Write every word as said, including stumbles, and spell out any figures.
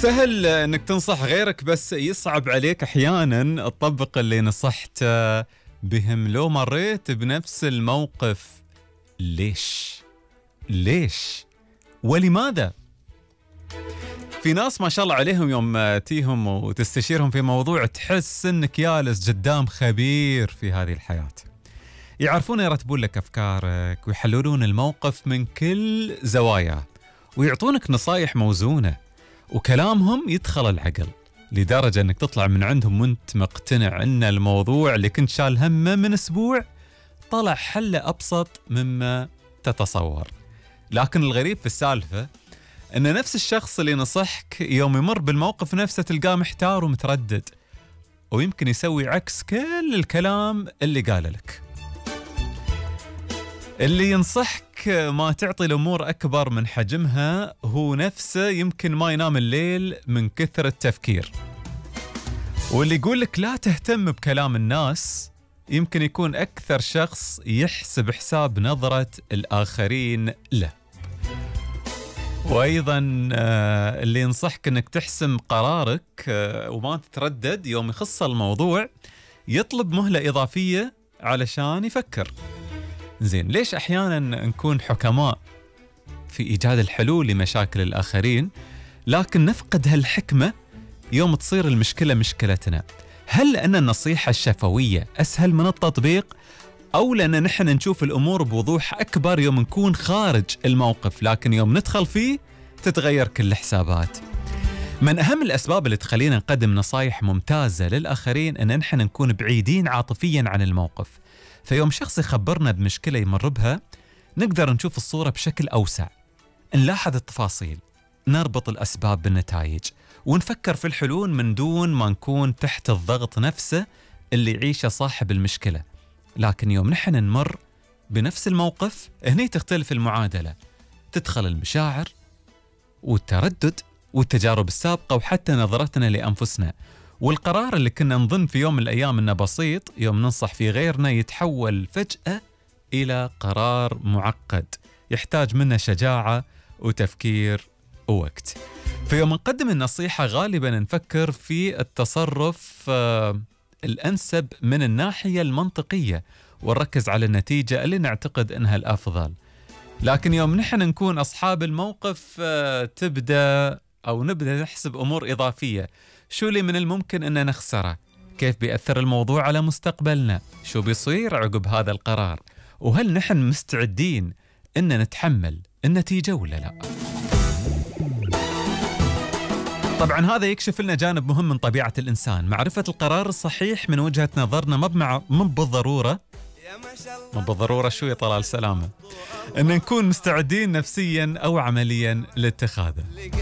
سهل انك تنصح غيرك، بس يصعب عليك احيانا تطبق اللي نصحته بهم. لو مريت بنفس الموقف، ليش؟ ليش؟ ولماذا؟ في ناس ما شاء الله عليهم يوم تيهم وتستشيرهم في موضوع تحس انك جالس قدام خبير في هذه الحياة. يعرفون يرتبون لك افكارك ويحللون الموقف من كل زواياه ويعطونك نصايح موزونة، وكلامهم يدخل العقل لدرجة انك تطلع من عندهم وانت مقتنع ان الموضوع اللي كنت شال همه من اسبوع طلع حله ابسط مما تتصور. لكن الغريب في السالفة ان نفس الشخص اللي نصحك يوم يمر بالموقف نفسه تلقاه محتار ومتردد، ويمكن يسوي عكس كل الكلام اللي قاله لك. اللي ينصحك ما تعطي الأمور أكبر من حجمها هو نفسه يمكن ما ينام الليل من كثر التفكير. واللي يقول لك لا تهتم بكلام الناس يمكن يكون أكثر شخص يحسب حساب نظرة الآخرين له. وأيضا اللي ينصحك أنك تحسم قرارك وما تتردد يوم يخص الموضوع يطلب مهلة إضافية علشان يفكر. زين، ليش أحيانا نكون حكماء في إيجاد الحلول لمشاكل الآخرين لكن نفقد هالحكمة يوم تصير المشكلة مشكلتنا؟ هل لأن النصيحة الشفوية أسهل من التطبيق، أو لأن نحن نشوف الأمور بوضوح أكبر يوم نكون خارج الموقف لكن يوم ندخل فيه تتغير كل الحسابات؟ من أهم الأسباب اللي تخلينا نقدم نصايح ممتازة للآخرين أن نحن نكون بعيدين عاطفيا عن الموقف. فيوم شخص يخبرنا بمشكلة يمر بها نقدر نشوف الصورة بشكل أوسع، نلاحظ التفاصيل، نربط الأسباب بالنتائج، ونفكر في الحلول من دون ما نكون تحت الضغط نفسه اللي يعيشه صاحب المشكلة. لكن يوم نحن نمر بنفس الموقف هني تختلف المعادلة، تدخل المشاعر والتردد والتجارب السابقة وحتى نظرتنا لأنفسنا، والقرار اللي كنا نظن في يوم من الأيام إنه بسيط يوم ننصح في غيرنا يتحول فجأة إلى قرار معقد يحتاج منا شجاعة وتفكير ووقت. في يوم نقدم النصيحة غالبا نفكر في التصرف آه الأنسب من الناحية المنطقية ونركز على النتيجة اللي نعتقد إنها الأفضل. لكن يوم نحن نكون أصحاب الموقف آه تبدأ أو نبدأ نحسب أمور إضافية. شو اللي من الممكن أن نخسره؟ كيف بيأثر الموضوع على مستقبلنا؟ شو بيصير عقب هذا القرار؟ وهل نحن مستعدين أن نتحمل النتيجة ولا لا؟ طبعا هذا يكشف لنا جانب مهم من طبيعة الإنسان، معرفة القرار الصحيح من وجهة نظرنا مو مو بالضرورة مو بالضرورة شو يا طلال سلامة أن نكون مستعدين نفسيا أو عمليا لاتخاذه.